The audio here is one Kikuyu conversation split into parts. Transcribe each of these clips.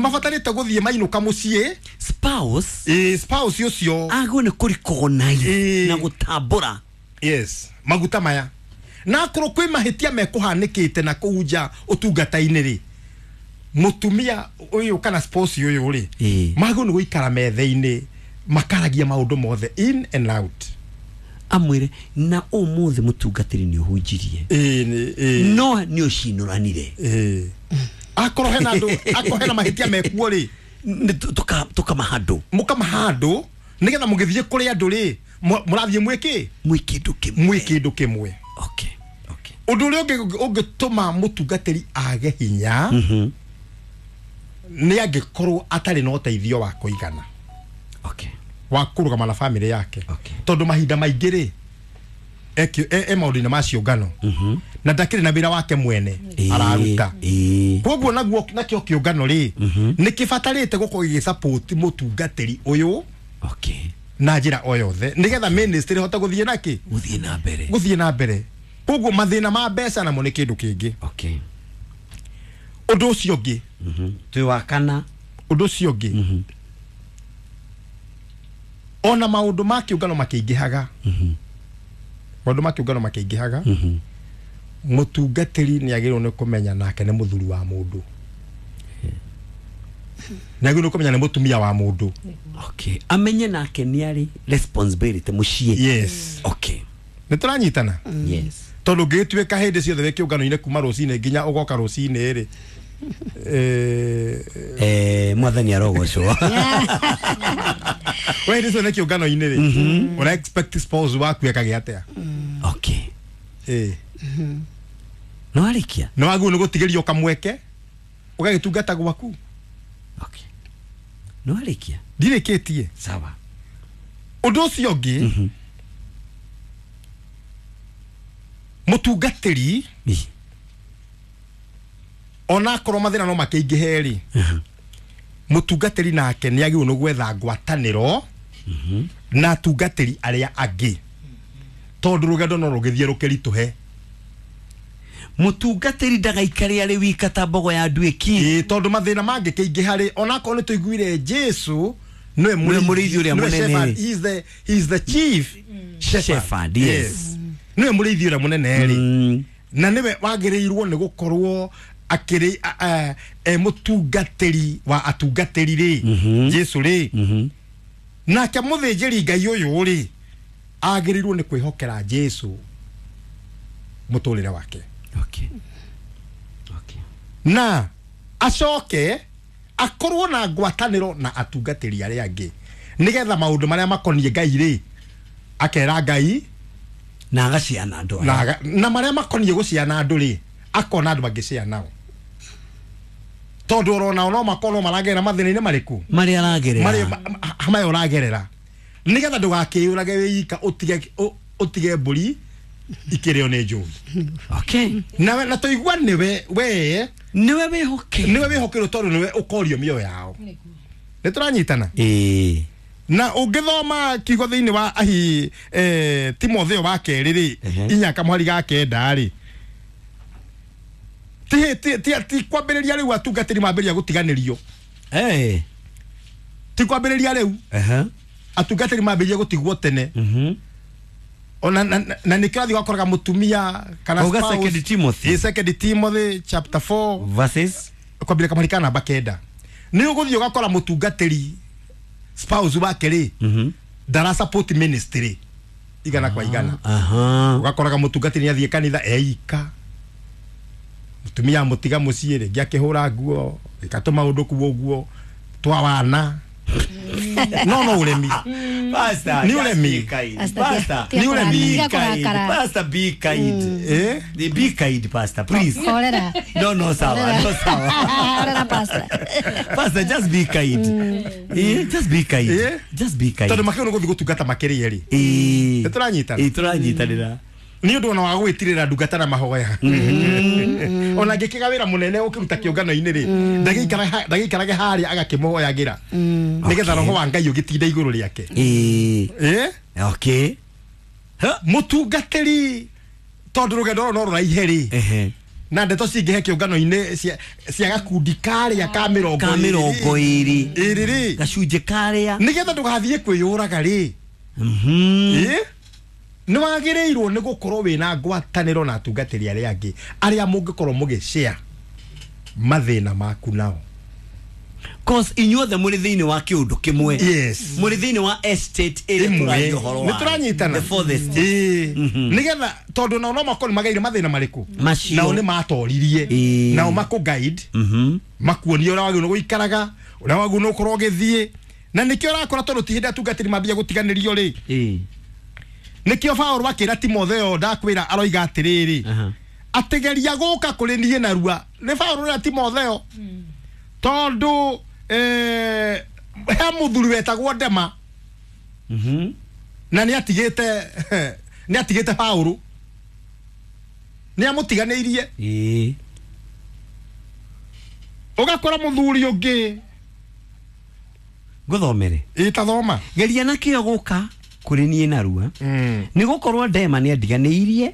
Mabatarĩte gũthiĩ mainũka mũciĩ. Spouse. Ĩ, spouse ũcio agwo nĩ kũrecognize Ĩĩ. na gũtambũra. Yes, maguta maya na akorwo kwĩ mahĩtia mekũhanĩkĩte na kũu nja ũtungata-inĩ rĩ, mũtumia ũyũ kana spouse ũyũ rĩ, Ĩĩ. magwo nĩ gũikara metha-inĩ makaragia maũndũ mothe in and out. Amwĩre na ũmũthĩ mũtungatĩri nĩ ũhunjirie, Ĩĩ, ĩĩ. no nĩ ũcinũranire. Ĩĩ. Akorwo hena andũ, akorwo hena mahĩtia mekuo rĩ, Nĩ tũkamahandũ. Mũkamahandũ nĩgetha mũgĩthiĩ kũrĩ andũ rĩ, mũrathiĩ mwĩkĩ mwĩ kĩndũ kĩmwe. Mwĩ kĩndũ kĩmwe. Okay. Ũndũ ũrĩa ũngĩ ũngĩtũma mũtungatĩri age hinya nĩ angĩkorwo atarĩ na ũteithio wa kũigana wa kũrũgama na bamĩrĩ yake. Tondũ mahinda maingĩ rĩ, e maũndũ-inĩ ma ciũngano na ndakĩrĩ na wĩra wake mwene araruta. Koguo naguo nakĩo kĩũngano rĩ, nĩ kĩbatarĩte gũkorwo gĩgĩsupport mũtungatĩri ũyũ na njĩra o yothe nĩgetha ministry ĩhote gũthiĩ nakĩ, gũthiĩ na mbere. Gũthiĩ na mbere. Koguo mathĩna ma mbeca namo nĩ kĩndũ kĩngĩ. Ũndũ ũcio ũngĩ, Twĩ wa kana. Ũndũ ũcio ũngĩ, ona maũndũ ma kĩũngano makĩingĩhaga, maũndũ ma kĩũngano makĩingĩhaga, mũtungatĩri nĩ agĩrĩirwo nĩ kũmenya nake nĩ mũthuri wa mũndũ, nĩ agĩrĩirwo nĩ kũmenya nĩ mũtumia wa mũndũ. Okay, amenye nake nĩ arĩ responsibility mũciĩ. Yes. Nĩ tũranyitana? Yes. Tondũ ũngĩgĩtuĩka hĩndĩ ciothe wĩ kĩũngano-inĩ kuma rũcinĩ nginya ũgoka rũcinĩ rĩ, Mwathani arogocwo. We hĩndĩ ciothe kĩũngano-inĩ rĩ, ũra expect spouse waku ekage atĩa? Ĩĩ. No arĩkia. Nĩ wagĩrĩirwo nĩ gũtigĩrio kamweke ũgagĩtungata gwaku. Okay, no arĩkia. Ndirĩkĩtie. Sawa. Ũndũ ũcio ũngĩ, mũtungatĩri ona akorwo mathĩna no makĩingĩhe rĩ, mũtungatĩri nake nĩ agĩrĩirwo nĩ gwetha ngwatanĩro na atungatĩri arĩa angĩ, tondũ rũgendo no rũgĩthiĩ rũkĩritũhe. Mũtungatĩri ndagaikare arĩ wika ta mbogo ya nduĩki. Ĩĩ, tondũ mathĩna mangĩkĩingĩha rĩ, onakorwo nĩ tũiguire Jesu nĩwe nĩwe mũrĩithi ũrĩa nĩwe mũnene. Shepherd, he is the chief shepherd. Shepherd, yes. Nĩwe mũrĩithi ũrĩa mũnene rĩ, na nĩwe wagĩrĩirwo nĩ gũkorwo akĩrĩ e mũtungatĩri wa atungatĩri rĩ, Jesu rĩ, nake mũthĩnjĩri Ngai ũyũ rĩ, agĩrĩirwo nĩ kwĩhokera Jesu mũtũrĩre wake. Na acoke akorwo na ngwatanĩro na atungatĩri arĩa angĩ nĩgetha maũndũ marĩa makoniĩ Ngai rĩ, akera Ngai na agaciana andũ na, aya. na marĩa makoniĩ gũciana andũ rĩ, akona andũ angĩciana nao, tondũ oronao no makorwo maragerera mathĩna-inĩ marĩkũ marĩa aragerera. Marĩa maya ũragerera, nĩgetha ndũgakĩyũrage wĩ ika, ũtige mbũri ikĩrĩo nĩ njũi. Na tũigua nĩwe we nĩwe wĩhoke. Nĩwe wĩhokerwo, tondũ nĩwe ũkorio mĩoyo yao. Nĩ tũranyitana? Ĩĩ. Na ũngĩthoma kiugo thĩinĩ wa ahi Timotheo wa kerĩ rĩ, 4 kamũhari ga 9 rĩ, ti kwambĩrĩria rĩu atungatĩri mambĩrĩria gũtiganĩrio. Ti kwambĩrĩria rĩu. Atungatĩri mambĩrĩria gũtigwo tene. Ona na nĩkĩo athiĩ ũgakoraga mũtumia kana Auga spouse. Second Timothy. Ĩ, Second Timothy chapter 4 verses kwambĩrĩria kamũhari ka namba 9, nĩ ũgũthiĩ ũgakora mũtungatĩri spouse wake rĩ, ndara support ministry igana kwa igana. Ũgakoraga mũtungatĩri nĩ athiĩ kanitha eika, mũtumia amũtiga mũciĩ, rĩngĩ akĩhũra nguo, ĩgatũma ũndũ kuo ũguo twa wana, no ũremi. Pastor, Nĩ just ũremi. be kind. Pastor, Pastor, tia Nĩ ũremi. be tia kind. kũrakara. Pastor, be kind. Eh? Be kind, Pastor, please. Horera. No, sawa, no, sawa. Horera, Pastor. Pastor, just be kind. Just be kind. Just be kind. Tondũ makĩrĩ gũthiĩ gũtungata makĩrĩa rĩ, nĩ tũranyitana? Ĩĩ, tũranyitanĩra. Nĩ ũndũ ona wa gwĩtirĩra ndungata na mahoya, ona angĩkĩga wĩra mũnene ũkĩruta kĩũngano-inĩ rĩ, ndagĩikarage harĩa agakĩmũhoyagĩra nĩgetha roho wa Ngai ũgĩtinda igũrũ rĩake. Eh? Mũtungatĩri, tondũ rũgendo rũrũ no rũraihe rĩ, Na ndeto cingĩhe kĩũngano-inĩ cia gakundi karĩa ka mĩrongo ĩrĩ rĩ, gacunjĩ karĩa, nĩgetha ndũgathiĩ kwĩyũraga rĩ, nĩ wagĩrĩirwo nĩ gũkorwo wĩna ngwatanĩro na atungatĩri arĩa angĩ arĩa mũngĩkorwo mũgĩshare mathĩna maku nao. Cause inyuothe mũrĩ thĩinĩ wa kĩũndũ kĩmwe. Yes. Mũrĩ thĩinĩ wa estate ĩrĩa tũraria ũhoro wa. Nĩtũranyitana. The fourth estate. Nĩgetha tondũ nao no makorwo nĩmageire mathĩna marĩkũ. Nao nĩ matoririe. Nao makũ guide. Makuonie ũrĩa wagĩrĩirwo gũikaraga, ũrĩa wagĩrĩirwo gũkorwo ũgĩthiĩ. Na nĩkĩo ũrakora tondũ ti hĩndĩ atungatĩri mambia gũtiganĩrio rĩ. Nĩkĩo Paũlũ akĩra Timotheo ndakwĩra aroiga atĩrĩrĩ, atĩgeria gũka kũrĩ niĩ narua. Nĩ Paũlũ na Timotheo. Tondũ he mũthuri wetagwo Dema. Na nĩatigĩte Paũlũ. Nĩamũtiganĩirie. Ũgakora mũthuri ũngĩ. Ngũthomere. Ĩtathoma. Geria na kĩo gũka kũrĩ niĩ narua. Nĩ gũkorwo Dema nĩandiganĩirie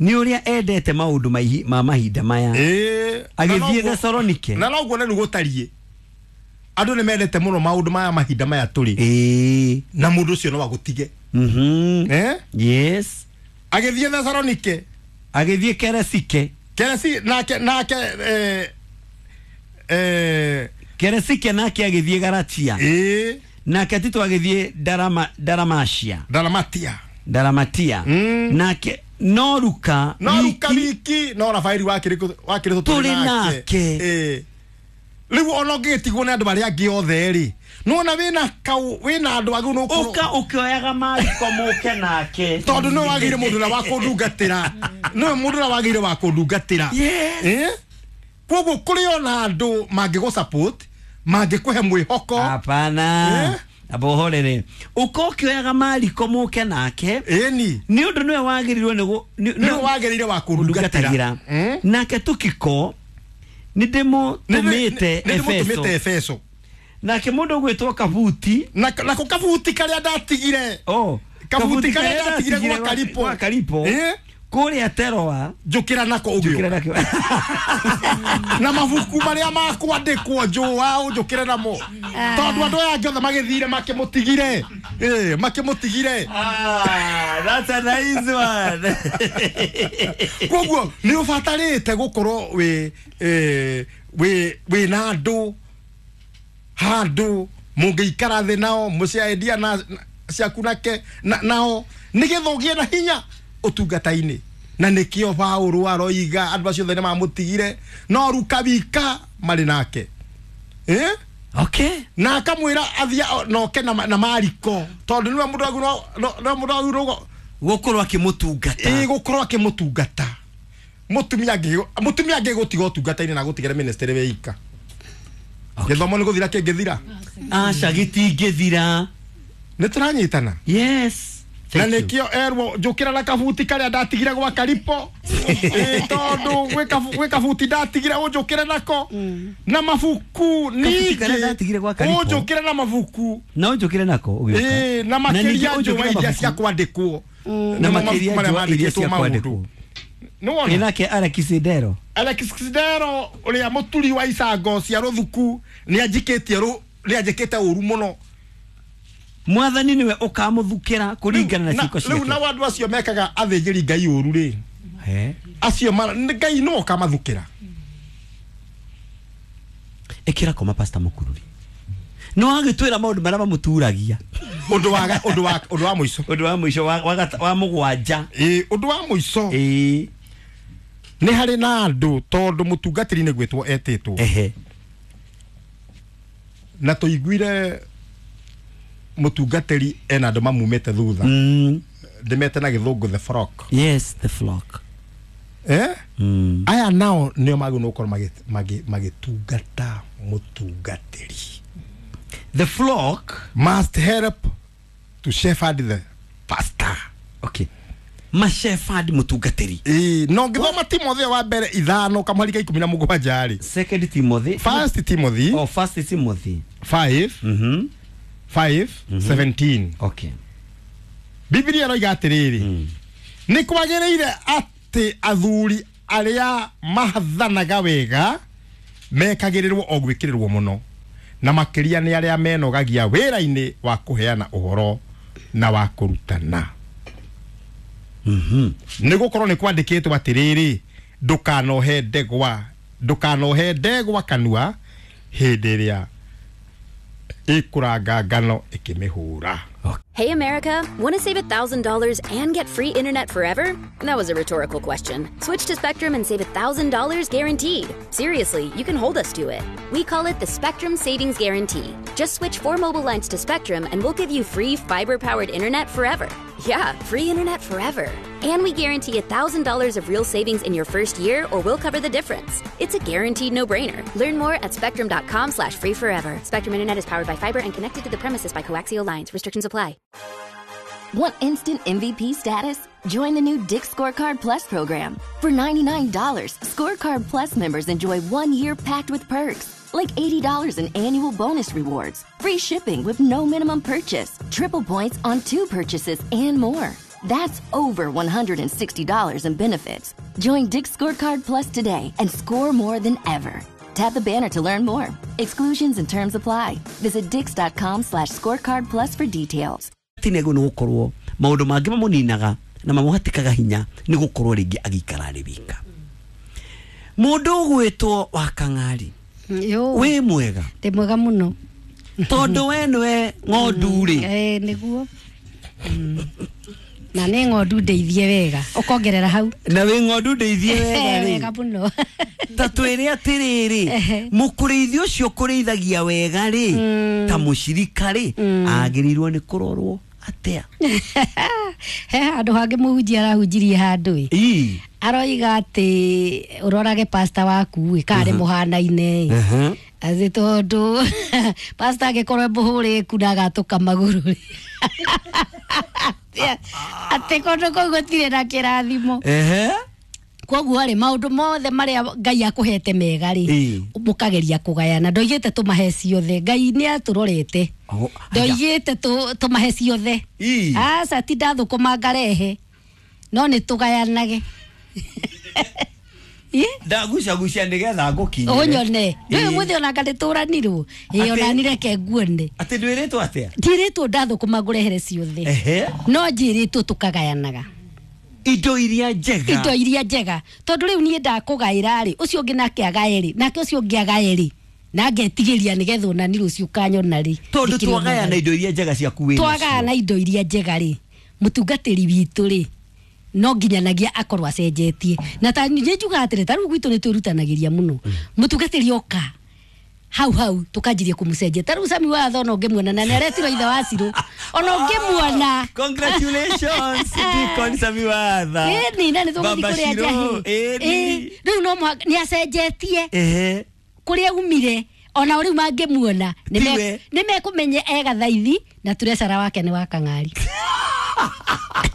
nĩ ũrĩa endete maũndũ ma mahinda maya. Agĩthiĩ Thesalonike. Na noguo nĩ gũtariĩ. Andũ nĩ mendete mũno maũndũ maya mahinda maya tũrĩ. Na mũndũ ũcio no agũtige. Yes. Agĩthiĩ Thesalonike. Agĩthiĩ Keresike. Keresi nake Keresike nake agĩthiĩ Galatia. Nake Tito agĩthiĩ Daramatia. Nake no Luka wiki no Rafaeli wakĩrĩ tũrĩ nake. Rĩu ona ũngĩgĩtigwo nĩ andũ arĩa angĩ othe rĩ, nĩwona wĩna kau wĩna andũ agĩ no ũka ũkĩoyaga mariko mũke nake, tondũ nĩwe wagĩrĩire mũndũ ũrĩa wa kũndungatĩra. Nĩwe mũndũ ũrĩa wagĩrĩire wa kũndungatĩra. Koguo kũrĩ ona andũ mangĩgũ support, mangĩkũhe mwĩhoko. Hapana. Abohorere. Ũka ũkĩoyaga mariko mũke nake. Ĩni. Nĩ ũndũ nĩwe wagĩrĩirwo nĩwe wagĩrĩire wa kũndungatĩra. Nake Tukiko nĩndĩmũtũmĩte Efeso. Nake mũndũ ũgwĩtwo Kabuti. Nako Kabuti karĩa ndatigire. Kabuti karĩa ndatigire gwa Karipo. Kũrĩa Teroa. Njũkĩra nako ũgĩũka. Na mabuku marĩa makwandĩkwo njũa ũnjũkĩre namo. Tondũ andũ aya angĩ othe magĩthire makĩmũtigire. Makĩmũtigire. That's a nice one. Koguo nĩ ũbatarĩte gũkorwo wĩ na andũ handũ mũngĩikara thĩ nao mũciaendia na ciaku nake nao nĩgetha ũgĩe na hinya ũtungata-inĩ. Na nĩkĩo Paũlũ aroiga andũ acio othe nĩmamũtigire no Luka wika marĩ nake. Okay. Na akamwĩra athiĩ noke na Mariko tondũ nĩwe mũndũ agĩrĩirwo gũkorwo akĩmũtungata. Gũkorwo akĩmũtungata. Mũtumia angĩgũtiga ũtungata-inĩ na gũtigĩra ministry wĩika. Gĩthomo nĩ gũthira kĩngĩthira? Aca gĩtingĩthira. Nĩ tũranyitana? Yes. Na nĩkĩo erwo njũkĩra na kabuti karĩa ndatigire gwa Karipo. Tondũ gwĩ kabuti ndatigire ũnjũkĩre nako. Na mabuku ningĩ ũnjũkĩre na mabuku. Na ũnjũkĩre nako ũgĩũka. Na makĩria njũa iria cia kwandĩkwo. Na makĩria njũa iria cia kwandĩkwo. Nĩwona? Nake Alexidero. Alexidero ũrĩa mũturi wa icango cia rũthuku nĩanjĩkĩte ũru mũno. Mwathani niwe ũkamũthukĩra kũringana na ciĩko ciake. Rĩu nao andũ acio mekaga athĩnjĩri Ngai ũru rĩ, acio Ngai nĩwe ũkamathukĩra. Ĩkĩra koma Pastor Mũkururi. Nĩ wagĩtwĩra maũndũ marĩa mamũturagia. Ũndũ wa mũico. Ũndũ wa mũico wa mũgwanja. Ũndũ wa mũico. Nĩ harĩ na andũ tondũ mũtungatĩri nĩ gwĩtwo etĩtwo. Na tũiguire mũtungatĩri ena andũ mamumĩte thutha. Ndĩmete na gĩthũngũ the flock. Yes, the flock. Aya nao nĩo magĩrĩirwo gũkorwo magĩtungata mũtungatĩri. The flock must help to shepherd the pastor. Okay. Ma shepherd mũtungatĩri. No ngĩthoma Timotheo wa mbere 5 kamũhari ka 17 rĩ. Second Timothy. First Timothy. Oh, First Timothy. 5. 5:17. Okay. Biblia ĩroiga atĩrĩrĩ, nĩ kwagĩrĩire atĩ athuri arĩa mahathanaga wega mekagĩrĩrwo o gwĩkĩrĩrwo mũno, na makĩria nĩ arĩa menogagia wĩra-inĩ wa kũheana ũhoro na wa kũrutana. Nĩ gũkorwo nĩ kwandĩkĩtwo atĩrĩrĩ, ndũkanohe ndegwa kanua hĩndĩ ĩrĩa ĩkũranga ngano ĩkĩmĩhũra. Hey America, want to save $1,000 and get free internet forever? That was a rhetorical question. Switch to Spectrum and save $1,000 guaranteed. Seriously, you can hold us to it. We call it the Spectrum Savings Guarantee. Just switch 4 mobile lines to Spectrum and we'll give you free fiber-powered internet forever. Yeah, free internet forever. And we guarantee $1,000 of real savings in your first year, or we'll cover the difference. It's a guaranteed no-brainer. Learn more at spectrum.com/free forever. Spectrum Internet is powered by fiber and connected to the premises by coaxial lines. Restrictions apply. Want instant MVP status? Join the new Dick's Scorecard Plus program. For $99, Scorecard Plus members enjoy 1 year packed with perks, like $80 in annual bonus rewards, free shipping with no minimum purchase, triple points on 2 purchases, and more. That's over $160 in benefits. Join Dick's Scorecard Plus today and score more than ever. Tap the banner to learn more. Exclusions and terms apply. Visit dicks.com/scorecard plus for details. Tinego nĩ gũkorwo maũndũ mangĩ mamũninaga na mamũhatĩkaga hinya nĩ gũkorwo rĩngĩ agĩikara arĩ wika. Mũndũ ũgwĩtwo wa Kang'ari, wĩ mwega? Ndĩ mwega mũno. Tondũ we nĩwe ng'ondu rĩ. Nĩguo. Na nĩ ng'ondu ndeithie wega, ũkongerera hau. Na wĩ ng'ondu ndeithie wega rĩ. Wega mũno. Ta twĩre atĩrĩrĩ, mũkũrĩithi ũcio ũkũrĩithagia wega rĩ, ta mũcirika rĩ, agĩrĩirwo nĩ kũrorwo atĩa? He handũ hangĩ mũhunjia arahunjirie handũ ĩ. Aroiga atĩ ũrorage pastor waku ĩ, kana nĩ mũhanaine ĩ. Atĩ tondũ pastor angĩkorwo e mũhũrĩku na agatũka magũrũ rĩ. Atĩ kũndũ kũu gũtirĩ na kĩrathimo. Koguo rĩ, maũndũ mothe marĩa Ngai akũhete mega rĩ, mũkageria kũgayana. Ndoigĩte tũmahe ciothe. Ngai nĩ atũrorete. Ndoigĩte tũmahe ciothe. Aca ti ndathũkũma ngarehe, no nĩ tũgayanage. Ndagucagucia nĩgetha ngũkinyĩre. Ũnyone. Ndũĩ ũmũthĩ ona anga nĩtũranirwo. Ĩ, ona niĩ reke nguone. Atĩ ndwĩrĩtwo atĩa? Ndirĩtwo ndathũkũma ngũrehere ciothe. No njĩrĩtwo tũkagayanaga. Indo iria njega. Indo iria njega. Tondũ rĩu niĩ ndakũgaĩra rĩ, ũcio ũngĩ nake agae rĩ, nake ũcio ũngĩ agae rĩ, na ngetigĩria nĩgetha ona niĩ rũciũ ũkanyona rĩ. Tondũ twagayana indo iria njega ciaku wĩ nacio. Twagayana indo iria njega rĩ, mũtungatĩri witũ rĩ, no nginyanagia akorwo acenjetie. Na ta nĩ njugaga atĩrĩ, ta rĩu gwitũ nĩ twĩrutanagĩria mũno. Mũtungatĩri oka hau hau tukanjirie kumucenjia. Ta rĩu Sami Watho ona ũngĩmuona, na nĩ aretirwo ithe wa Cirũ, ona ũngĩmuona. Congratulations Deacon Sami Watho. Ĩni, na nĩ tũgũthiĩ kũrĩa njahĩ. Rĩu no mũhaka nĩ acenjetie. Kũrĩa umire, ona rĩu mangĩmuona nĩ mekũmenya ega thaithi na turecara wake nĩ wa Kang'ari.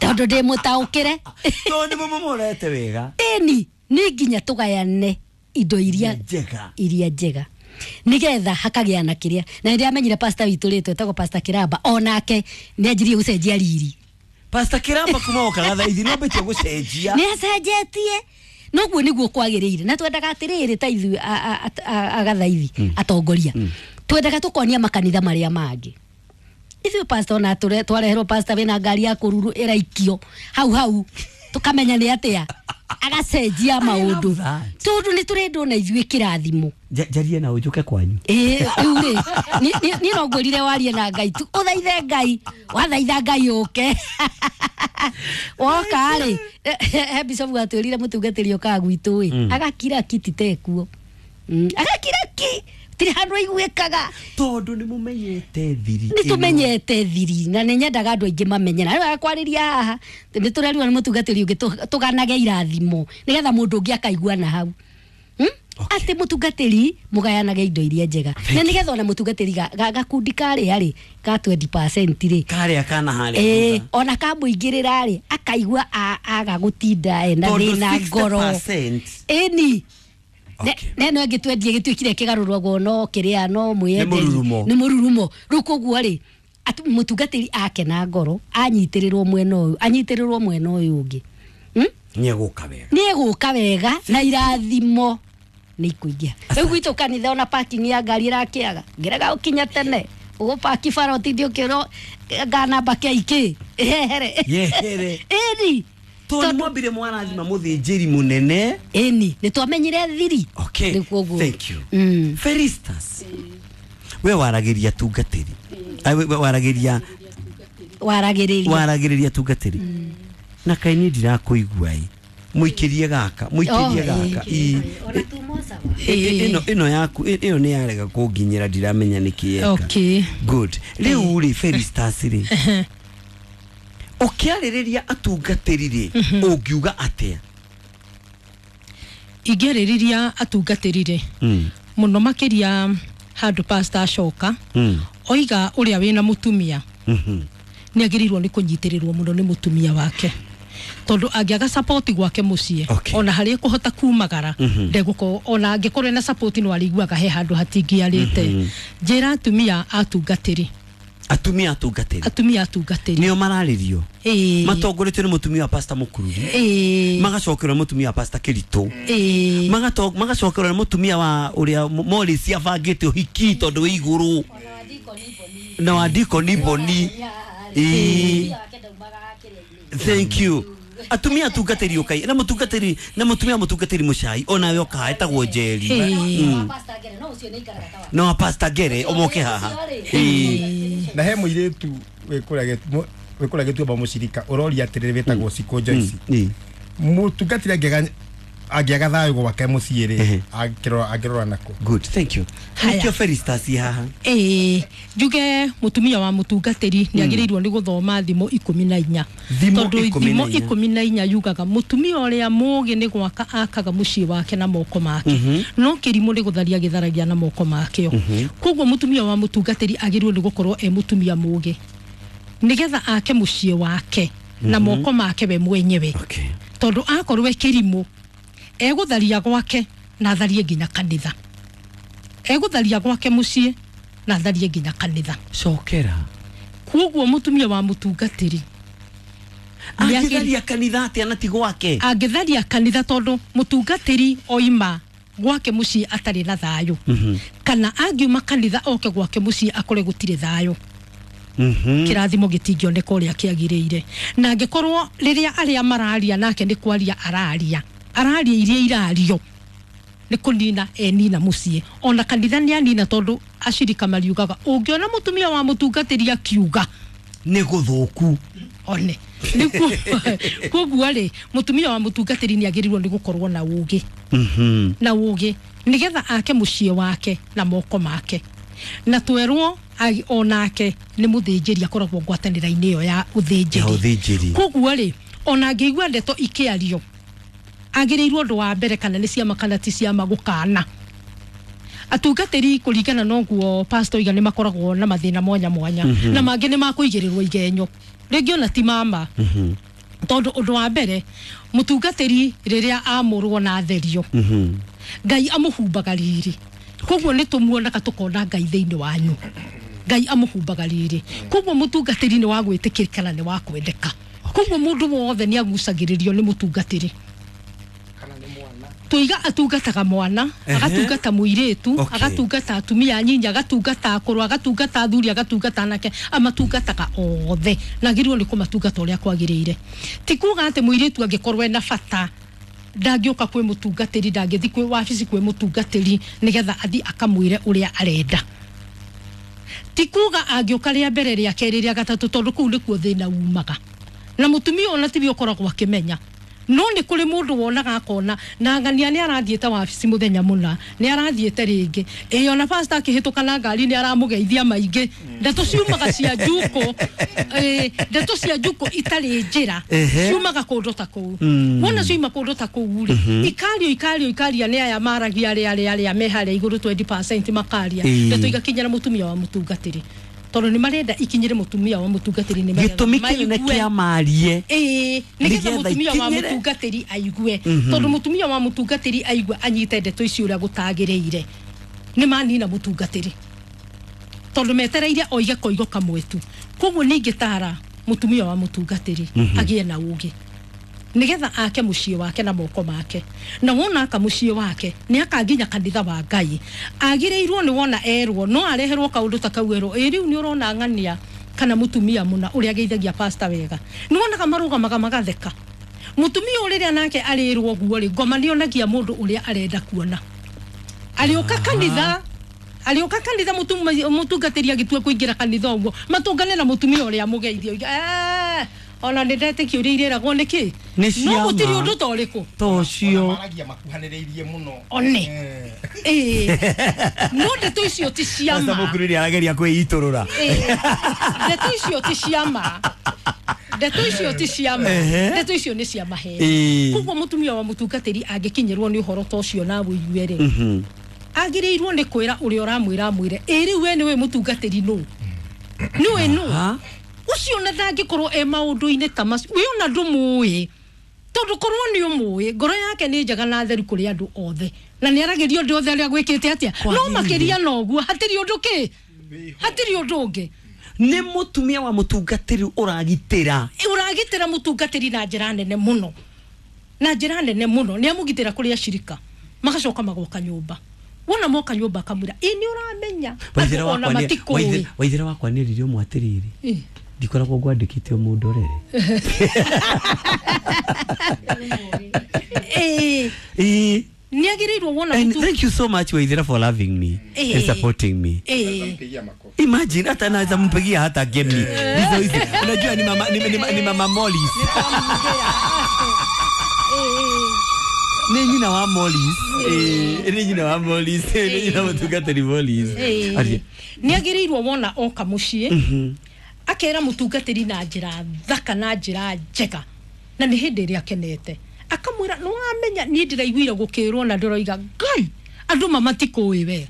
Tondũ ndĩ mũtaũkĩre. Tondũ nĩ mũmũrorete wega. Ĩni, nĩ nginya tũgayane indo iria njega. Iria njega. Nigetha hakagĩa na kĩrĩa. Na nĩ amenyire pastor witũ rĩtwa etagwo Pastor Kiramba, onake nĩ anjirie gũcenjia riri. Pastor Kiramba kuma okaga thaithi no mbĩtie gũcenjia. Nĩ acenjetie. Noguo nĩguo kwagĩrĩire. Na twendaga atĩrĩrĩ ta ithuĩ agathaithi atongoria. Twendaga tũkonia makanitha marĩa mangĩ. Ithuĩ pastor ona twareherwo pastor wĩna ngari ya kũruru ĩraikio hau hau, tũkamenya nĩ atĩa. Agacenjia maũndũ. Tondũ nĩ tũrendwo na ithuĩ kĩrathimo. Njarie na ũnjũke kwanyu. Rĩu rĩ, niĩ no ngwĩrire warie na Ngai tu. Ũthaithe Ngai, wathaitha Ngai ũke. Woka rĩ, he bishop atwĩrire mũtungatĩri ũkaga gwitũ ĩ, agakira ki ti tekuo. Agakira ki, tirĩ handũ aiguĩkaga. Tondũ nĩ mũmenyete thiri. Nĩ tũmenyete thiri, na nĩ nyendaga andũ aingĩ mamenye. Na rĩu akwarĩria haha, nĩ tũrerirwo nĩ mũtungatĩri ũngĩ tũganage irathimo, nĩgetha mũndũ ũngĩ akaigua na hau. Atĩ mũtungatĩri mũgayanage indo iria njega. Na nĩgetha ona mũtungatĩri gakundi karĩa rĩ, ka 20% rĩ. Karĩa kana harĩa. Ona kamũingĩrĩra rĩ, akaigua aga gũtinda ena thĩna ngoro. Ĩni. Neno ĩngĩ twendie gĩtuĩkire kĩgarũragwo no kĩrĩa no mwĩenderi. Nĩ mũrurumo. Rĩu koguo rĩ, mũtungatĩri akena ngoro, anyitĩrĩrwo mwena ũyũ, anyitĩrĩrwo mwena ũyũ ũngĩ. Nĩ egũka wega. Nĩ egũka wega na irathimo nĩ ikũingĩha. Rĩu gwitũ kanitha ona parking ya ngari ĩrakĩaga, ngĩrega ũkinya tene ũgũpaki bara ũtinde ũkĩrwo nganamba KK ĩhehere. Yehere. Ĩni. Tondũ mwambire mwarathima mũthĩnjĩri mũnene. Ĩni, nĩ twamenyire thiri. Okay. Rĩu koguo. Thank you. Felistas, we waragĩria tungatĩri. Ai, we waragĩria Waragĩrĩria. Waragĩrĩria tungatĩri. Na kaĩ niĩ ndirakũigua ĩ. Mũikĩrie gaka, mũikĩrie gaka. Ĩ. Ona tumosawa. Ĩno yaku ĩyo nĩ yarega kũnginyĩra, ndiramenya nĩkĩ yeka. Okay. Good. Rĩu rĩ, Felistas rĩ, ũkĩarĩrĩria atungatĩri rĩ, ũngiuga atĩa? Ingĩarĩrĩria atungatĩri rĩ, mũno makĩria handũ pastor acoka oiga ũrĩa wĩna mũtumia nĩ agĩrĩirwo nĩ kũnyitĩrĩrwo mũno nĩ mũtumia wake, tondũ angĩaga support gwake mũciĩ, ona harĩa ekũhota kumagara ndegũkorwo, ona angĩkorwo ena support no arĩiguaga he handũ hatingĩarĩte. Njĩra atumia atungatĩri. Atumia atungatĩri. Atumia atungatĩri. Nĩo mararĩrio. Ĩĩ. Matongoretio nĩ mũtumia wa pastor Mũkururi. Ĩĩ. Magacokerwo nĩ mũtumia wa pastor Kĩritũ. Ĩĩ. Magacokerwo nĩ mũtumia wa ũrĩa Morris abangĩte ũhiki tondũ wĩ igũrũ. Na wa Deacon Boni. Ĩĩ. Thank you. Atumia atungatĩri ũkai na mũtungatĩri na mũtumia mũtungatĩri mũcai onawe ũkaha etagwo Njeri. Na wa pastor Ngere ũmoke haha. Ĩĩ. Na he mũirĩtu wĩ kũrĩa Gĩtuamba mũcirika ũroria atĩrĩrĩ wĩtagwo Cikũ Joyce. Mũtungatĩri angĩaga thayũ gwake mũciĩ rĩ, angĩrora nakũ? Good, thank you. Nĩkĩo Felistas haha. Ĩĩ, njuge mũtumia wa mũtungatĩri nĩ agĩrĩirwo nĩ gũthoma thimo 14. Tondũ thimo 14 yugaga mũtumia ũrĩa mũũgĩ nĩ gwaka akaga mũciĩ wake na moko make, no kĩrimũ nĩ gũtharia gĩtharagia na moko makĩo. Koguo mũtumia wa mũtungatĩri agĩrĩirwo nĩ gũkorwo e mũtumia mũũgĩ nĩgetha ake mũciĩ wake na moko make we mwenyewe. Tondũ akorwo e kĩrimũ egũtharia gwake na atharie nginya kanitha. Egũtharia gwake mũciĩ na atharie nginya kanitha. Cokera. Koguo mũtumia wa mũtungatĩri angĩtharia kanitha atĩa na ti gwake? Angĩtharia kanitha tondũ mũtungatĩri oima gwake mũciĩ atarĩ na thayũ, kana angiuma kanitha oke gwake mũciĩ akore gũtirĩ thayũ, kĩrathimo gĩtingĩoneka ũrĩa kĩagĩrĩire. Na angĩkorwo rĩrĩa arĩa mararia nake nĩ kwaria araria iria irario nĩ kũnina enina mũciĩ, ona kanitha nĩ anina, tondũ acirika mariugaga ũngĩona mũtumia wa mũtungatĩri akiuga nĩ gũthũku one. Koguo rĩ, mũtumia wa mũtungatĩri nĩ agĩrĩirwo nĩ gũkorwo na ũũgĩ, na ũũgĩ nĩgetha ake mũciĩ wake na moko make, na twerwo onake nĩ mũthĩnjĩri akoragwo ngwatanĩro-inĩ ĩyo ya ũthĩnjĩri. Koguo rĩ, ona angĩigua ndeto ikĩario agĩrĩirwo ũndũ wa mbere kana nĩ ciama kana ti ciama gũkana. Atungatĩri kũringana na ũguo pastor oiga nĩ makoragwo na mathĩna mwanya mwanya, na mangĩ nĩ makũigĩrĩrwo igenyo rĩngĩ ona ti mama. Tondũ ũndũ wa mbere mũtungatĩri rĩrĩa amũrwo na atherio, Ngai amũhumbaga riri. Koguo nĩ tũmuonaga tũkona Ngai thĩinĩ wanyu. Ngai amũhumbaga riri. Koguo mũtungatĩri nĩ wa gwĩtĩkĩrĩka na nĩ wa kwendeka. Koguo mũndũ wothe nĩ agucagĩrĩrio nĩ mũtungatĩri. Tuiga atungataga mwana, agatungata mũirĩtu, agatungata atumia anyinyi, agatungata akũrũ, agatungata athuri, agatungata anake, amatungataga othe na agĩrĩirwo nĩ kũmatungata ũrĩa kwagĩrĩire. Ti kuga atĩ mũirĩtu angĩkorwo ena bata ndangĩũka kwĩ mũtungatĩri, ndangĩthiĩ kwĩ wabici kwĩ mũtungatĩri nĩgetha athiĩ akamwĩre ũrĩa arenda. Ti kuga angĩũka rĩa mbere, rĩa kerĩ, rĩa gatatũ, tondũ kũu nĩkuo thĩna umaga. Na mũtumia ona tiwe ũkoragwo akĩmenya. No nĩ kũrĩ mũndũ wonaga akona na ng'ania nĩ arathiĩte wabici mũthenya mũna, nĩ arathiĩte rĩngĩ, ĩĩ ona pastor akĩhĩtũka na ngari nĩ aramũgeithia maingĩ. Ndeto ciumaga cia njukũ, ndeto cia njukũ itarĩ njĩra, ciumaga kũndũ ta kũu. Wona ciuma kũndũ ta kũu rĩ, ikario ikario ikaria nĩ aya maragia arĩa arĩa me harĩa igũrũ 20% makaria, ndeto igakinyĩra mũtumia wa mũtungatĩri. Tondũ nĩ marenda ikinyĩre mũtumia wa mũtungatĩri, nĩ gĩtũmi kĩnene kĩa marie, ĩĩ, nĩgetha mũtumia wa mũtungatĩri aigue. Tondũ mũtumia wa mũtungatĩri aigue anyite ndeto ici ũrĩa gũtagĩrĩire, nĩ manina mũtungatĩri, tondũ metereire oige koigo kamwe tu. Koguo nĩ ingĩtara mũtumia wa mũtungatĩri agĩe na ũũgĩ, Nigetha ake muciĩ wake na moko make. Na wona aka muciĩ wake nĩ akanginya kanitha wa Ngai. Agĩrĩirwo nĩ wona erwo no areherwo kaũndũ ta kau erwo ĩ rĩu nĩ ũrona ng'ania kana mutumia muna ũrĩa ageithagia pastor wega. Nĩ wonaga marũgamaga magatheka. Mutumia ũrĩa nake arĩrwo guo rĩ ngoma nĩonagia mũndũ ũrĩa arenda kuona. Arĩũka kanitha arĩũka kanitha mũtungatĩri agĩtua kũingĩra kanitha ũguo matũngane na mũtumia ũrĩa mũgeithio ona nĩ ndetĩkia ũrĩa irĩragwo nĩkĩ no gũtirĩ ũndũ ta ũrĩkũ ta ũcio maragia makuhanĩrĩirie mũno one no ndeto icio ti cia ma. Mũkuru nĩ arageria kwĩitũrũra. Ndeto icio ti cia ma. Ndeto icio ti cia ma. Ndeto icio nĩ cia maheni. Koguo mũtumia wa mũtungatĩri angĩkinyĩrwo nĩ ũhoro ta ũcio na ũigue rĩ agĩrĩirwo nĩ kwĩra ũrĩa ũramwĩra amwĩre ĩ rĩu we nĩwe mũtungatĩri nũ nĩwe nũ ucio na ndangĩkorwo e maũndũ-inĩ ta macio we ona ndũmũĩ tondũ korwo nĩ ũmũĩ ngoro yake nĩ njega na theru kũrĩ andũ othe na nĩ aragĩrio ũndũ othe arĩa gwĩkĩte atĩa no makĩria na ũguo hatirĩ ũndũ kĩ hatirĩ ũndũ ũngĩ. Nĩ mũtumia wa mũtungatĩri ũragitĩra ũragitĩra mũtungatĩri na njĩra nene mũno na njĩra nene mũno nĩ amũgitĩra kũrĩ acirika magacoka magoka nyũmba wona moka nyũmba akamwĩra ĩ nĩ ũramenya ona matikũĩ. Waithĩra wakwa nĩ rĩrĩ ũmwe atĩrĩrĩ ndikoragwo ngwandĩkĩte mũndũ rere nĩ agĩrĩirwo wona. And thank you so much Waithira for loving me and supporting me. Imagine hata naweza mpigia hata game hizo hizo. Unajua ni mama ni mama Mollis. Ni nyina wa Mollis. Ni nyina wa Mollis. Ni nyina mũtungatĩri Mollis. Nĩ agĩrĩirwo wona oka mũciĩ akera mũtungatĩri na njĩra thaka na njĩra njega na nĩ hĩndĩ ĩrĩa akenete akamwĩra nĩ wamenya niĩ ndĩraiguire gũkĩrwo na ndĩroiga Ngai andũ mamatikũĩ we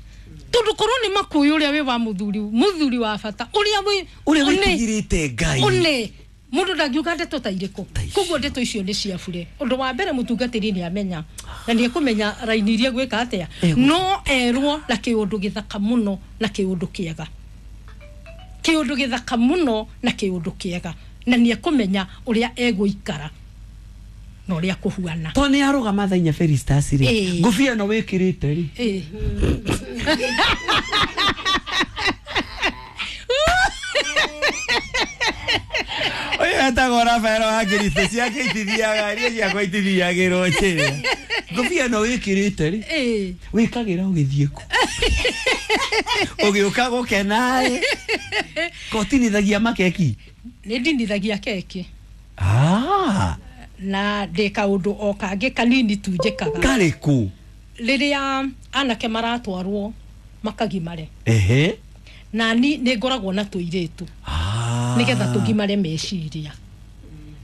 tondũ korwo nĩ makũĩ ũrĩa wĩ wa mũthuri wa bata ũrĩa wĩtigĩrĩte Ngai one mũndũ ndangiuga ndeto ta irĩkũ. Koguo ndeto icio nĩ cia bure. Ũndũ wa mbere mũtungatĩri nĩ amenya na nĩ ekũmenya raini iria gwĩka atĩa no erwo na kĩũndũ gĩthaka mũno na kĩũndũ kĩega kĩũndũ gĩthaka mũno na kĩũndũ kĩega na nĩ ekũmenya ũrĩa egũikara na ũrĩa kũhuana to nĩ arũgama thaa inya Felistas rĩ ngũbia no wĩkĩrĩte rĩ ũyũ etagwo Rafael wa Kristo ciake itithiaga iria ciakwa itithiagĩrwo njĩra ngũbia no wĩkĩrĩte rĩ wĩkagĩra ũgĩthiĩ kũ ũgĩũka gũkena rĩ kotinithagia makeki nĩ ndinithagia keki na ndĩ kaũndũ o kangĩ kanini tu njĩkaga karĩkũ rĩrĩa anake maratwarwo makagimare na ni nĩ ngoragwo na tũirĩtu nĩgetha tũgimare meciria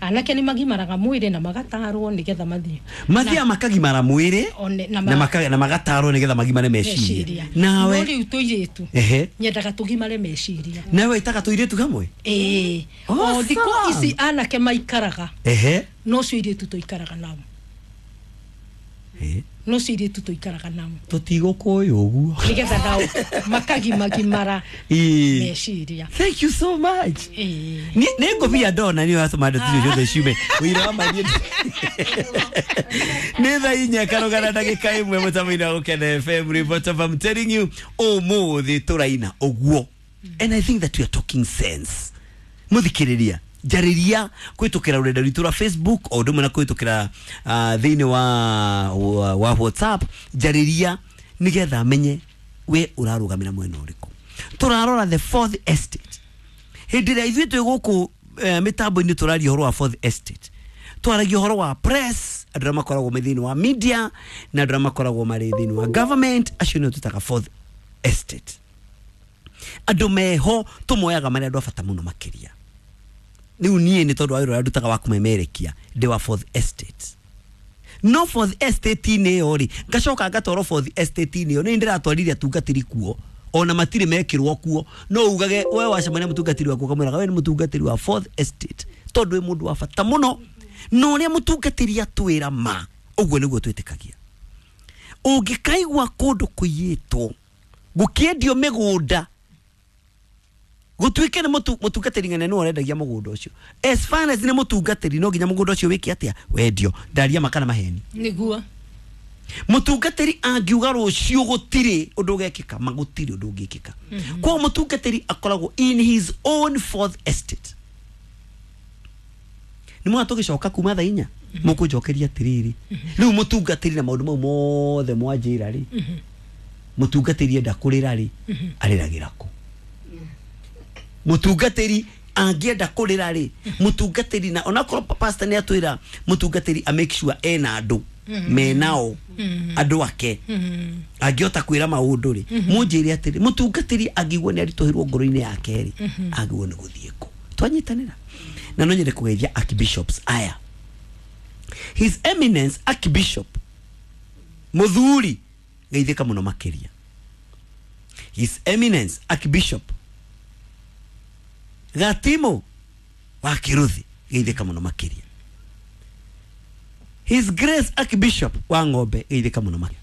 anake nĩ magimaraga mwĩrĩ na magatarwo nĩgetha mathiĩ mathiĩ makagimara mwĩrĩ na magatarwo nĩgetha magimare meciria nawe no rĩu tũirĩtu nyendaga tũgimare meciria nawe ĩtaga tũirĩtu hamwe ĩĩ o thikũ ici anake maikaraga no cio irĩtu tũikaraga nao no cio irĩtu tũikaraga nao tũtigũkũĩ ũguo nĩgetha nao makagimagimara meciria. Thank you so much. Nĩ ngũbia ndona nĩ ũratũma ndeto icio ciothe ciume ũira wa mathiĩ nĩ thaa inya karũgana ndagĩka ĩmwe mũtambo-inĩ wa Gũkena FM report of I'm telling you ũmũthĩ tũraina ũguo and I think that we are talking sense. Mũthikĩrĩria njarĩria kũhĩtũkĩra rũrenda rwitũ rwa Facebook o ũndũ ũmwe na kũhĩtũkĩra thĩinĩ wa WhatsApp njarĩria nĩgetha menye we ũrarũgamĩra mwena ũrĩkũ. Tũrarora the fourth estate hĩndĩ ĩrĩa ithuĩ twĩ gũkũ mĩtambo-inĩ tũraria ũhoro wa fourth estate twaragia ũhoro wa press andũ arĩa makoragwo me thĩinĩ wa media na andũ arĩa makoragwo marĩ thĩinĩ wa government acio nĩo twĩtaga fourth estate. Andũ meho tũmoyaga marĩ andũ a bata mũno makĩria. Rĩu niĩ nĩ tondũ wa wĩra ũrĩa ndutaga wa kũmemerekia ndĩ wa fourth estate no fourth estate-inĩ ĩyo rĩ ngacoka ngatwarwo fourth estate-inĩ ĩyo nĩ ndĩratwarire atungatĩri kuo ona matirĩ mekĩrwo kuo no ugage we wacemania mũtungatĩri waku ũkamwĩraga we nĩ mũtungatĩri wa fourth estate tondũ wĩ mũndũ wa bata mũno na ũrĩa mũtungatĩri atwĩra ma ũguo nĩguo twĩtĩkagia. Ũngĩkaigua kũndũ kũiyĩtwo gũkĩendio mĩgũnda Gutuike ni mutungatiri ng'ene nĩwe ũrendagia mũgũnda ũcio. As far as nĩ mũtungatĩri no nginya mũgũnda ũcio wĩke atĩa? Wendio. Ndaria makana maheni. Nĩguo. Mũtungatĩri angiuga rũciũ gũtirĩ ũndũ ũgekĩka, ma gũtirĩ ũndũ ũngĩkĩka. Koguo mũtungatĩri akoragwo in his own fourth estate. Nĩ mwana tũgĩcoka kuma thaa inya mũkũnjokeria atĩrĩrĩ, rĩu mũtungatĩri na maũndũ mau mothe mwanjĩra rĩ, mũtungatĩri enda kũrĩra rĩ, arĩragĩra kũ? Mũtungatĩri angĩenda kũrĩra rĩ, mũtungatĩri na onakorwo pastor nĩ atwĩra mũtungatĩri a make sure ena andũ menao andũ ake angĩhota kwĩra maũndũ rĩ, mũnjĩre atĩrĩ, mũtungatĩri angĩigua nĩ aritũhĩrwo ngoro-inĩ yake rĩ, agĩrĩirwo nĩ gũthiĩ kũ? Twanyitanĩra. Na no nyende kũgeithia archbishops aya. His Eminence Archbishop Muthuri geithĩka mũno makĩria. His Eminence Archbishop Gatimo wa Kiruthi geithĩka mũno makĩria. His Grace Archbishop wa Ng'ombe geithĩka mũno makĩria.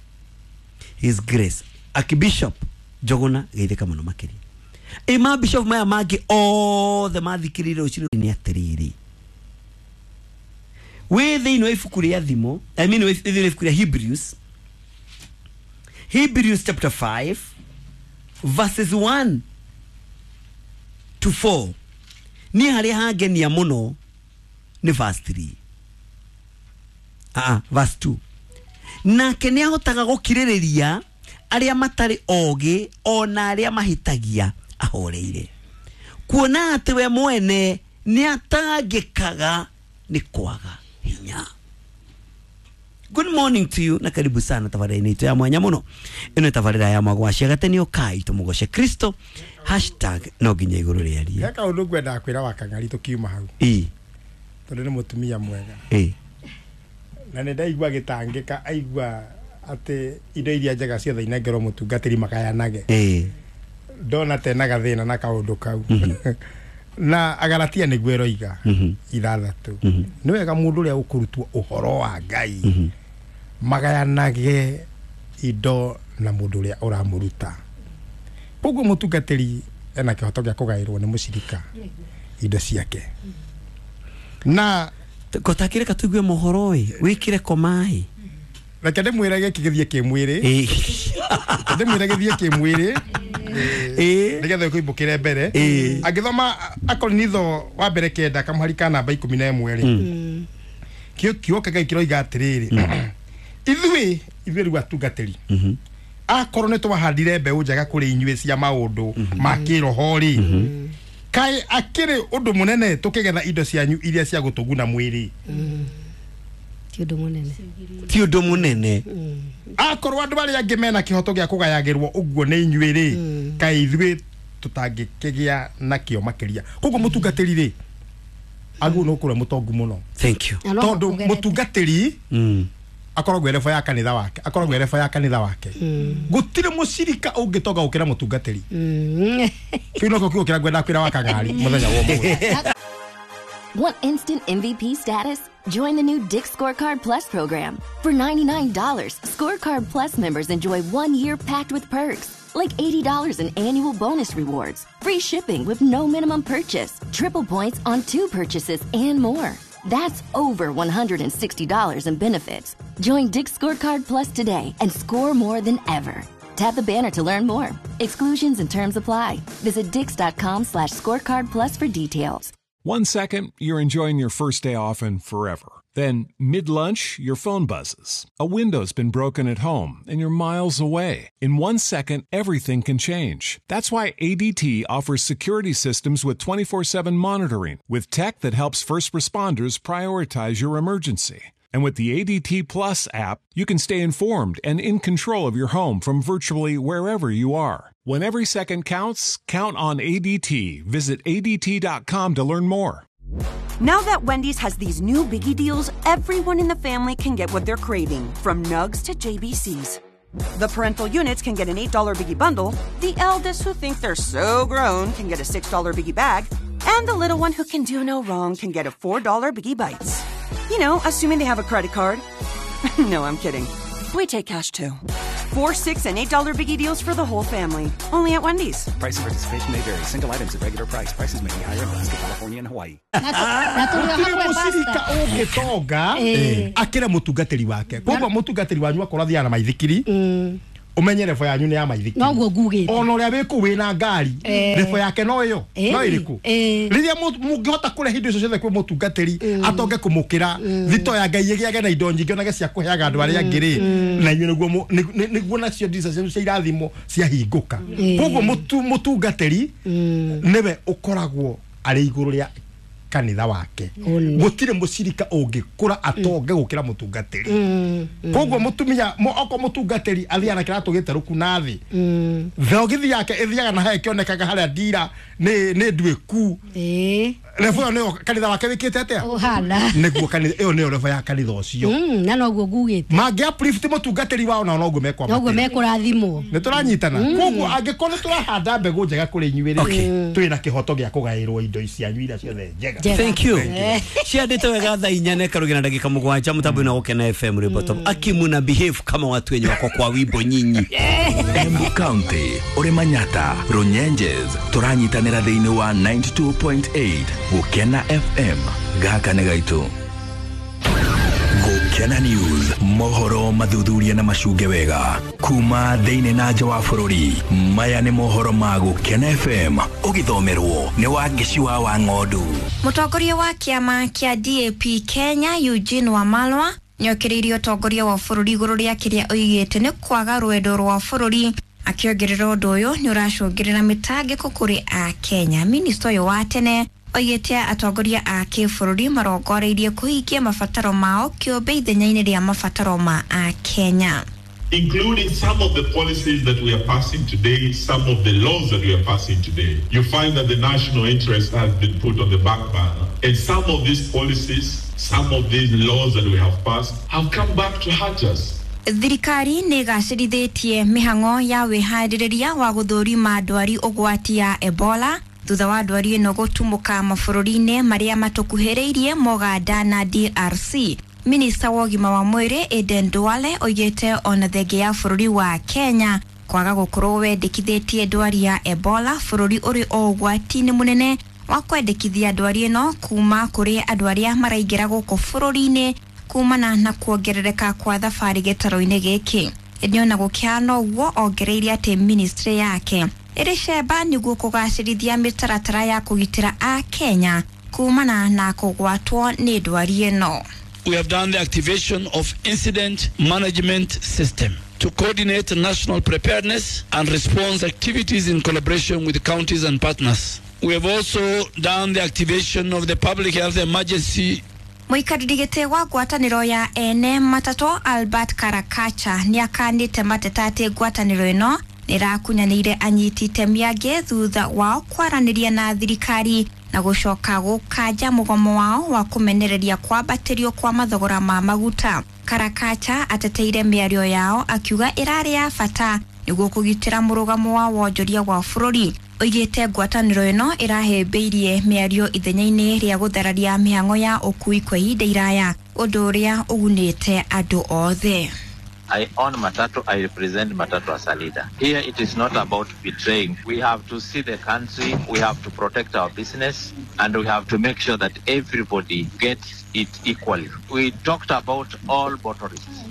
His Grace Archbishop Njogona geithĩka mũno makĩria. Ima bishop maya mangĩ othe mathikĩrĩire rũcinĩ nĩ atĩrĩrĩ, wĩ thĩinĩ wa ibuku rĩa Thimo, I mean wĩ thĩinĩ wa ibuku rĩa Hebrews, Hebrews chapter 5 verses 1 to 4. Niĩ harĩa hangenia mũno nĩ verse 3. Verse 2. Nake nĩ ahotaga gũkirĩrĩria arĩa matarĩ ogĩ ona arĩa mahĩtagia ahoreire, kuona atĩ we mwene nĩ atangĩkaga nĩ kwaga hinya. Good morning to you na karibu sana tabarĩra-inĩ itũ ya mwanya mũno. Ĩno tabarĩra ya Mwagwacia Gatene ũkai tũmũgoce Kristo hashtag no nginya igũrũ rĩarie. He kaũndũ ngwendaga kwĩra Wakang'ari tũkiuma hau. Tondũ nĩ mũtumia mwega. Na nĩ ndaigua agĩtangĩka aigua atĩ indo iria njega ciothe inengerwo mũtungatĩri magayanage. Ndona tena gathĩna na kaũndũ kau. Na Agalatia nĩguo ĩroiga 6. Nĩ wega mũndũ ũrĩa ũkũrutwo ũhoro wa Ngai magayanage indo na mũndũ ũrĩa ũramũruta. Koguo mũtungatĩri ena kĩhoto gĩa kũgaĩrwo nĩ mũcirika indo ciake. Na kotakĩreka tũigue mohoro ĩ, wĩkĩre komaĩ. Reke ndĩmwĩre gĩkĩ gĩthiĩ kĩmwĩrĩ. Ndĩmwĩre gĩthiĩ kĩmwĩrĩ. Nĩgetha ũkũimbũkĩre mbere. Angĩthoma Akorinitho wa mbere 9 kamũhari ka namba 11 rĩ, kĩo kĩa Ngai kĩroiga atĩrĩrĩ, ithuĩ rĩu atungatĩri akorwo nĩ twahandire mbeũ njega kũrĩ inyuĩ cia maũndũ ma kĩroho rĩ, kaĩ akĩrĩ ũndũ mũnene tũkĩgetha indo cianyu iria cia gũtũguna mwĩrĩ? Ti ũndũ mũnene. Ti ũndũ mũnene. Akorwo andũ arĩa angĩ mena kĩhoto gĩa kũgayagĩrwo ũguo nĩ inyuĩ rĩ, kaĩ ithuĩ tũtangĩkĩgĩa nakĩo makĩria. Koguo mũtungatĩri rĩ, agĩrĩirwo nĩ gũkorwo mũtongu mũno. Thank you. Tondũ mũtungatĩri akoragwo erebo ya kanitha wake, akoragwo erebo ya kanitha wake. Gũtirĩ mũcirika ũngĩtonga gũkĩra mũtungatĩri. Kĩu nokĩo kiugo kĩrĩa ngwenda kwĩra Wakang'ari mũthenya wa ũmũthĩ. Want instant MVP status? Join the new Dick's Scorecard Plus program. For $99, Scorecard Plus members enjoy 1 year packed with perks, like $80 in annual bonus rewards, free shipping with no minimum purchase, triple points on 2 purchases, and more. That's over $160 in benefits. Join Dick's Scorecard Plus today and score more than ever. Tap the banner to learn more. Exclusions and terms apply. Visit dicks.com/scorecard plus for details. 1 second, you're enjoying your first day off and forever. Then, mid-lunch, your phone buzzes. A window's been broken at home, and you're miles away. In 1 second, everything can change. That's why ADT offers security systems with 24/7 monitoring, with tech that helps first responders prioritize your emergency. And with the ADT Plus app, you can stay informed and in control of your home from virtually wherever you are. When every second counts, count on ADT. Visit ADT.com to learn more. Now that Wendy's has these new biggie deals, everyone in the family can get what they're craving, from nugs to JBCs. The parental units can get an $8 biggie bundle, the eldest who think they're so grown can get a $6 biggie bag, and the little one who can do no wrong can get a $4 biggie bites. You know, assuming they have a credit card. No, I'm kidding. We take cash too. 4, $6, and $8 biggie deals for the whole family. Only at Wendy's. Price and participation may vary. Single items at regular price. Prices may be higher in Alaska, California, and Hawaii. Gũtirĩ mũcirika ũngĩtonga akĩre mũtungatĩri wake. Koguo mũtungatĩri wanyu akorwo athiaga na maithikiri, umenye revo yanyu nĩ ya maithikiri. Noguo ngugĩte. Ona ũrĩa wĩ kũu wĩna ngari, revo yake no ĩyo, no ĩrĩkũ. Rĩrĩa mũngĩhota kũrehe indo icio ciothe kwĩ mũtungatĩri, atonge kũmũkĩra, thito ya Ngai ĩgĩage na indo nyingĩ onage cia kũheaga andũ arĩa angĩ rĩ, na inyuĩ nĩguo nĩguo nacio ndirica cianyu cia irathimo ciahingũka. Koguo mũtungatĩri nĩwe ũkoragwo arĩ igũrũ rĩa kanitha wake. Gũtirĩ mũcirika ũngĩkũra atonge gũkĩra mũtungatĩri. Koguo mũtumia okorwo mũtungatĩri athiaga na kĩratũ gĩterũku na thĩ, thogithi yake ĩthiaga na harĩa ĩkĩonekaga harĩa ndira nĩ nduĩku. Revo ĩyo nĩyo kanitha wake wĩkĩte atĩa? Ũhana. Nĩguo kanitha ĩyo nĩyo revo ya kanitha ũcio. Na noguo ngugĩte. Mangĩ uplift mũtungatĩri wao nao noguo mekwambatĩra. Noguo mekũrathimwo. Nĩ tũranyitana. Koguo angĩkorwo nĩ tũrahanda mbegũ njega kũrĩ inyuĩ rĩ, twĩna kĩhoto gĩa kũgaĩrwo indo cianyu iria ciothe njega. Thank you. Ciandĩte wega thaa 4 na ĩkarũgĩra ndagĩka 7 mũtambo-inĩ wa Gũkena FM rwĩmbo top. Akimuna behave kama watu wenye wako kwa wimbo nyinyi. Embu County, ũrĩ Manyata, Runyenjes, tũranyitanĩra thĩinĩ wa 92.8 Gũkena FM. Gaka nĩ gaitũ. Gũkena News, mohoro mathuthuria na macunge wega kuma thĩinĩ na nja wa bũrũri. Maya nĩ mohoro ma Gũkena FM, ũgĩthomerwo nĩ Wangeci wa Wang'ondu. Mũtongoria wa kĩama kĩa DAP Kenya Eugene Wamalwa nĩokĩrĩirie ũtongoria wa bũrũri igũrũ rĩa kĩrĩa oigĩte nĩ kwaga rwendo rwa bũrũri, akĩongerera ũndũ ũyũ nĩ ũracũngĩrĩra mĩtangĩko kũrĩ Akenya. Minista ũyũ wa tene oigĩte atongoria a kĩbũrũri marongoreirie kũhingia mabataro mao kĩũmbe ithenya-inĩ rĩa mabataro ma Akenya. Including some of the policies that we are passing today, some of the laws that we are passing today, you find that the national interest has been put on the back burner. And some of these policies, some of these laws that we have passed have come back to hurt us. Thirikari nĩ ĩgacĩrithĩtie mĩhang'o ya wĩharĩrĩria wa gũthũrima ndwari ũgwati ya Ebola thutha wa ndwari ĩno gũtumũka mabũrũri-inĩ marĩa matũkuhĩrĩirie Moganda na DRC. Minista wa ũgima wa mwĩrĩ Aden Duale oigĩte ona thenge ya bũrũri wa Kenya kwaga gũkorwo wendekithĩtie ndwari ya Ebola, bũrũri ũrĩ o ũgwati-inĩ mũnene wa kwendekithia ndwari ĩno kuma kũrĩ andũ arĩa maraingĩra gũkũ bũrũri-inĩ kumana na kuongerereka kwa thabarĩ gĩtarũ-inĩ gĩkĩ. Ĩndĩ ona gũkĩhana ũguo, ongereire atĩ ministry yake ĩrĩ cemba nĩguo kũgacĩrithia mĩtaratara ya kũgitĩra Akenya kumana na kũgwatwo nĩ ndwari ĩno. We have done the activation of incident management system to coordinate national preparedness and response activities in collaboration with counties and partners. We have also done the activation of the public health emergency. Mũikarĩri gĩtĩ wa ngwatanĩro ya ene matatũ Albert Karakacha nĩakanĩte mateta atĩ ngwatanĩro ĩno nĩrakunyanĩire anyiti itemi angĩ thutha wao kwaranĩria na thirikari na gũcoka gũkanja mũgomo wao wa kũmenereria kwambatĩrio kwa mathogora ma maguta. Karakacha ateteire mĩario yao akiuga ĩrarĩ ya bata nĩguo kũgitĩra mũrũgamo wa wonjoria wa bũrũri. Oigĩte ngwatanĩro ĩno ĩrahĩmbĩirie mĩario ithenya-inĩ rĩa gũthararia mĩhang'o ya ũkui kwa ihinda iraya, ũndũ ũrĩa ũgunĩte andũ othe. I own Matatu, I represent Matatu as a leader. Here it is not about betraying. We have to see the country, we have to protect our business, and we have to make sure that everybody gets it equally. We talked about all motorists.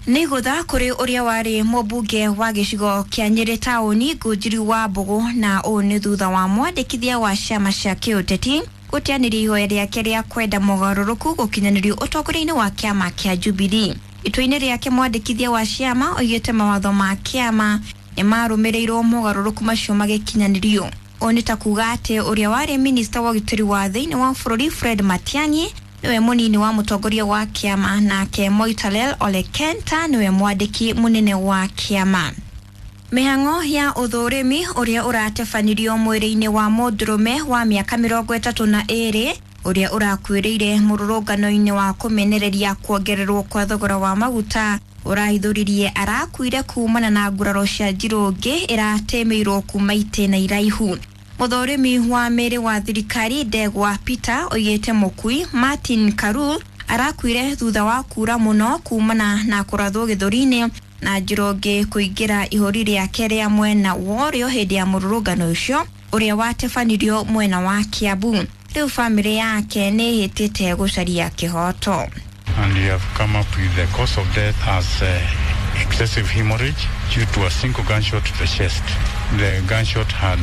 Nĩ gũtha kũrĩ ũrĩa warĩ mũmbunge wa gĩcigo kĩa Nyĩrĩ taũni Ngũnjiri wa Mbũgũ, na ũũ nĩ thutha wa mwandĩkithia wa ciama cia kĩũteti gũteanĩria ihoya rĩake rĩa kwenda mogarũrũku gũkinyanĩrio ũtongoria-inĩ wa kĩama kĩa Jubilee. Itua-inĩ rĩake mwandĩkithia wa ciama oigĩte mawatho ma kĩama nĩ marũmĩrĩirwo mogarũrũku macio magĩkinyanĩrio. Ũũ nĩ ta kuga atĩ ũrĩa warĩ minista wa ũgitĩri wa thĩinĩ wa bũrũri Fred Matiang'i niwe munini wa mũtongoria wa kĩama, nake Moitalel Ole Kenta niwe mwandĩki mũnene wa kĩama. Mĩhang'o ya ũthũrĩmi ũrĩa ũratebanirio mwĩrĩ-inĩ wa mũndũrũme wa mĩaka 32 ũrĩa ũrakuĩrĩire mũrũrũngano-inĩ wa kũmenereria kuongererwo kwa thogora wa maguta ũrahithũririe arakuire kumana na nguraro cia njirũngĩ ĩratemeirwo kuma itĩna iraihu. Mũthũrĩmi wa mĩrĩ wa thirikari Ndegwa Peter oigĩte mũkui Martin Karul arakuire thutha wa kura mũno kumana na kũrathwo gĩthũri-inĩ Na Njoroge kũingĩra ihũri rĩake rĩa mwena wa ũrĩo hĩndĩ ya mũrũrũngano ũcio ũrĩa watabanirio mwena wa Kiambu. Rĩu bamĩrĩ yake nĩ ĩhĩtĩte gũcaria kĩhoto. And we have come up with the cause of death as excessive hemorrhage due to a single gunshot to the chest. The gunshot had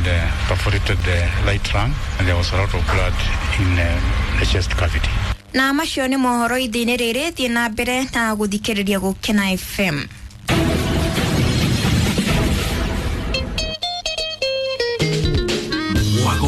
perforated the right lung and there was a lot of blood in the chest cavity. Na macio nĩ mohoro ithĩ-inĩ rĩrĩ, thiĩ na mbere na gũthikĩrĩria Gũkena FM.